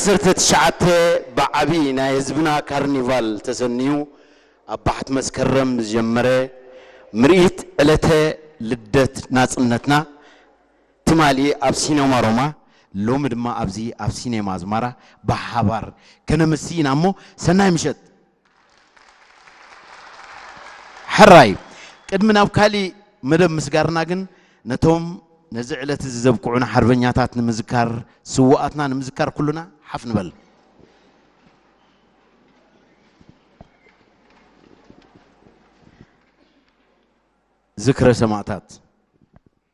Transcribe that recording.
ዓሰርተ ትሽዓተ ብዓቢ ናይ ህዝብና ካርኒቫል ተሰንዩ ኣብ ባሕቲ መስከረም ዝጀመረ ምርኢት ዕለተ ልደት ናጽነትና ትማሊ ኣብ ሲነማ ሮማ፣ ሎሚ ድማ ኣብዚ ኣብ ሲኔማ ኣዝማራ ብሓባር ከነምሲ ኢና እሞ ሰናይ ምሸት። ሕራይ። ቅድሚ ናብ ካሊእ መደብ ምስጋርና ግን ነቶም ነዚ ዕለት እዚ ዘብቅዑና ሓርበኛታት ንምዝካር፣ ስውኣትና ንምዝካር ኩሉና ሓፍ ንበል። ዝክረ ሰማእታት።